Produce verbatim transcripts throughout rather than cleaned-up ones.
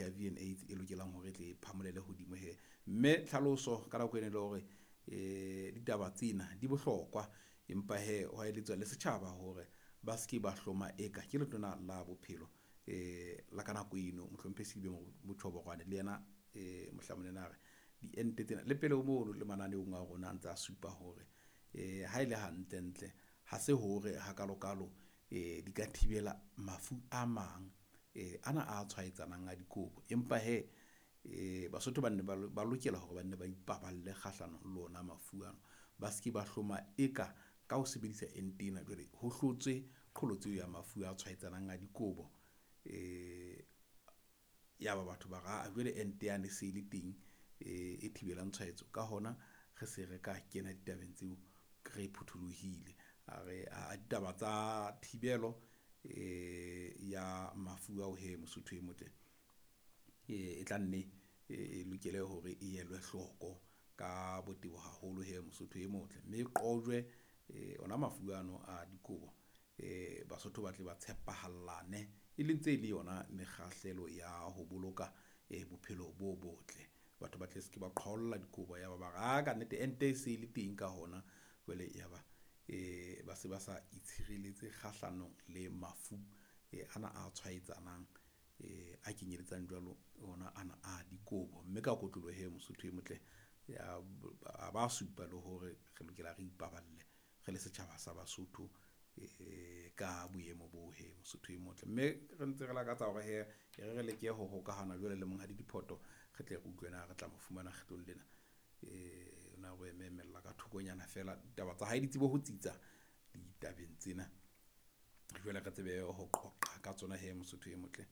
H I V and AIDS e lokelang hore e tle e phamolele hodimo he. Mme tlhaloso ka nako ena e le hore eh ditaba tsena di bohlokwa, empa he ho eletswa le setjhaba hore ba seke ba hloma eka ke letona la bophelo eh la ka nako eno mohlomphehi Selibe Mochoboroane le yena eh mohlamong a re diente tsena le pele ho mono le mananeong a rona a ntse a supa hore eh ha ele hantle ntle ha se hore hakalokalo eh di ka thibela mafu a mang eh ana a tshwaetsanang a dikobo, empa he eh Basotho ba nne ba lokela hore ba nne ba ipaballe kgahlano le ona mafu ano, ba seke ba hloma eka ka ho sebedisa ente ena jwale ho hlotswe qholotso ya mafu a tshwaetsanang a dikobo. Eh ya ba batho ba ra jwale ente yane se le teng e thibelang tshwaetso, ka hona re se re ka kena ditabeng tseo re phuthulohile. A re a ditaba tsa thibelo eh ya mafu ao he Mosotho e motle e tla nne e lokele hore e elwe hloko ka botebo haholo he Mosotho e motle, mme qojwe ona mafu ano a dikobo eh Basotho ba tle ba tshepahallane e leng tse le yona mekgahlelo ya ho boloka bophelo bo botle. Batho ba tle seke ba qhwaolla dikobo ya ba ba re ka nnete ente e se le teng ka hona jwale ya ba eh ba se ba sa itshireletse kgahlanong le mafu ana a tshwaetsanang eh a kenyeletsang jwalo ona ana a dikobo. Mme ka kotloloho he Mosotho e motle ya ba supa le hore re lokela re ipaballe re le setjhaba sa Basotho eh ka boemo bo he Mosotho e motle. Mme re ntse re lakatsa hore he re re leke ho hokahana jwale le monghadi Diphoto, re tle re utlwe na re tla mo fumana kgetlong lena eh na re emella ka thokonyana fela ditaba tsa hae di tsebe ho tsitsa ditabeng tsena, jwale re tsebe ho qoqa ka tsona he Mosotho e motle,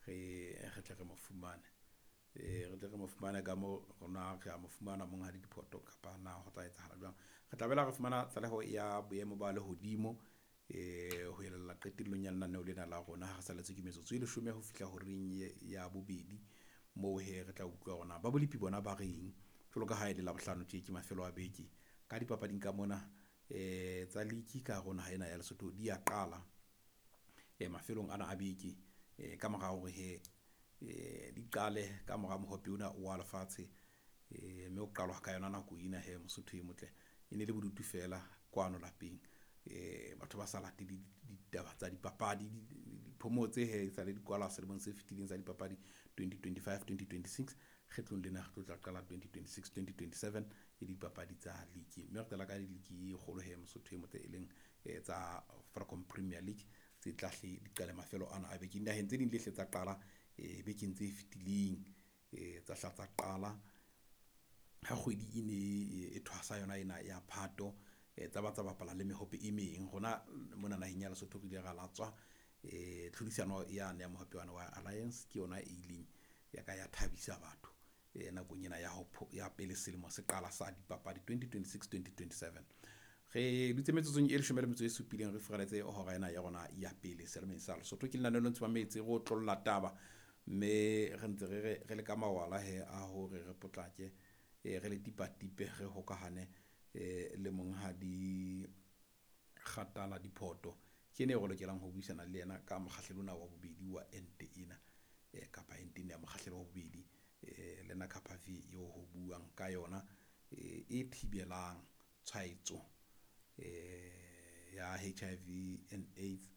re re tle re mo fumane eh re tle re mo fumane ka mo rona re a mo fumana monghadi Diphoto kapa na ho tla etsahala jwang. Re tla bela re fumana tlaleho ya boemo ba lehodimo eh ho elella qetellong ya lenaneo lena la rona ha re saletse ke metsotso e leshome ho fihla horeng ya bobedi, moo he re tla utlwa hore na ba bolepi bona ba reng jwalo ka ha e le Labohlano tje ke mafelo a beke ka dipapading ka mona eh tsa league ka rona ha ena ya Lesotho di ya qala eh mafelong ana a beke eh ka mora hore he eh di qale ka mora mohope ona wa lefatshe eh mme ho qalwa ka yona nako ena he Mosotho e motle e ne le bodutu fela kwano lapeng eh batho ba sa late ditaba tsa dipapadi diphomotse he sa le di kwala selemong se fetileng sa dipapadi twenty twenty-five twenty twenty-six kgetlong lena re tlo tla qala twenty twenty-six twenty twenty-seven e dipapadi tsa league, mme re qala ka league e kgolo he Mosotho e motle e leng tsa Vodacom Premier League tse tla hle di qale mafelo ana a beke. Dinaheng tse ding le hle tsa qala eh bekeng tse fetileng eh tsa hla tsa qala ha kgwedi e ne e thwasa yona ena ya Phato tsa ba tsa bapala le mehope e meng. Rona mona naheng ya Lesotho re ile ra latswa eh tlhodisano yane ya mohope wa Alliance ke yona e ileng ya ka ya thabisa batho eh nakong ena ya ho ya pele selemo se qala sa dipapadi twenty twenty-six twenty twenty-seven. Re dutse metsotsong e leshome le metso e supileng re furaletse hora ena ya rona ya pele selemeng sa Lesotho. Ke lenaneo le ntse mametse re otlolla taba, mme re ntse re re le ka mawala he a hore re potlake re le tipatipe re hokahane le monghadi Kgatala Diphoto ke ene re lokelang ho buisana le yena ka mokgahlelo ona wa bobedi wa ente ena kapa ente ena ya mokgahlelo wa bobedi lena Lenacapavir eo ho buang ka yona e thibelang tshwaetso ya H I V and AIDS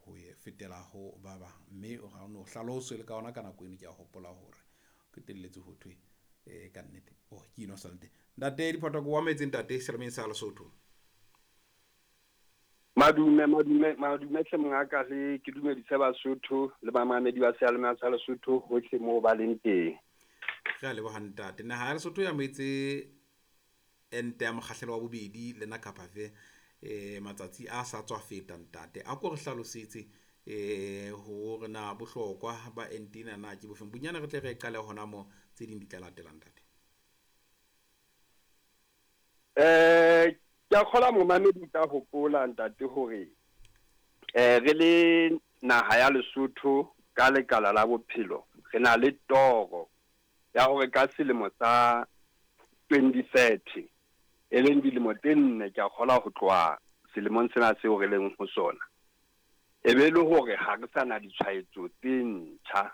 ho fetela ho ba bang. Mme o no hlaloswe le ka ona ka nako eno ke a hopola hore qetelletse ho thwe eh ka nnete oh ke ino salte ntate Diphoto wa metse ntate selemeng sa Lesotho. Madume madume madume hle mongaka, le ke dumedise Basotho le bamamedi ba seyalemoya sa Lesotho hohle moo ba leng teng. Re a leboha ntate. Naha ya Lesotho ya metse ente ya mokgahlelo wa bobedi Lenacapavir eh matsatsi a sa tswa feta ntate, a ko re hlalosetse eh hore na bohlokwa ba ente ena na ke bofeng bonyane, re tle re qale hona mo tse ding di tla latelang ntate. Eh ke a kgola momamedi ka hopola ntate hore eh re le naha ya Lesotho ka lekala la bophelo re na le toro ya hore ka selemo sa twenty thirty e leng dilemo tse nne ke a kgola ho tloha selemong sena seo re leng ho sona, e be le hore ha re sa na ditshwaetso tse ntjha